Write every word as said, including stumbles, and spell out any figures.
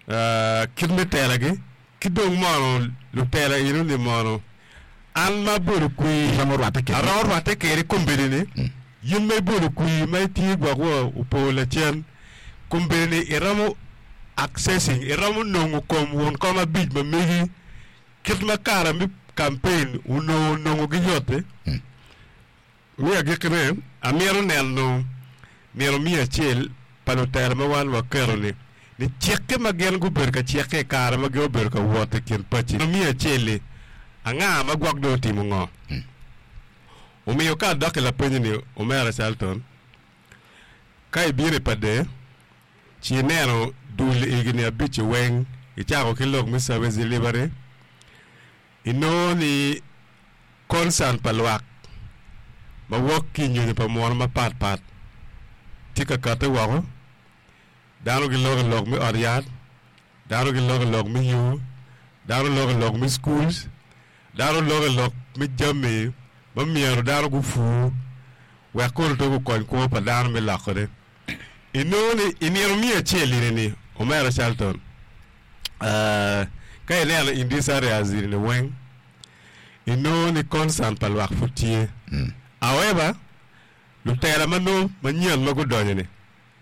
uh, kit me telagi ki dong mono lutela eno ni mono an ma abodo kwir Iromo rwatte kede. Aromo rwatte kede kombeddi ni yin ma ibodo kwir ma itye gwok wa opo lacen kombeddi ni iromo accessing iromo nongo kom won kom abic ma megi kit ma kare me campaign onongo nongo gi yot-ti. Me agikkine amito neno nino miya acel pa lutela ma wan waketo ni ni cikke ma gin gubedo ka cikke i kare ma gin obedo ka wot i kin paci miya acel-li anga ma gwok dong otimo ngo. Omiyo ka adok i lapenyo ni omera Charlton ka ibino i Pader ci ineno dul egini abic weng icako ki lok me service delivery inongo ni concern pa lwak ma wok ki i nyonyo pa muno mapat pat tye ka katte woko dano giloko i lok me ot yat dano giloko i lok me yo dano loko i lok me schools dano loko i lok me jami ma myero dano gupur wek kono to gukony kwo pa dano me lokone inongo ni i nino miya acel eni omera Charlton uh, ka ineno in these areas eni weng inongo ni concern pa lwak pud tye. However, lutela ma nongo manyen ma gudonyo ni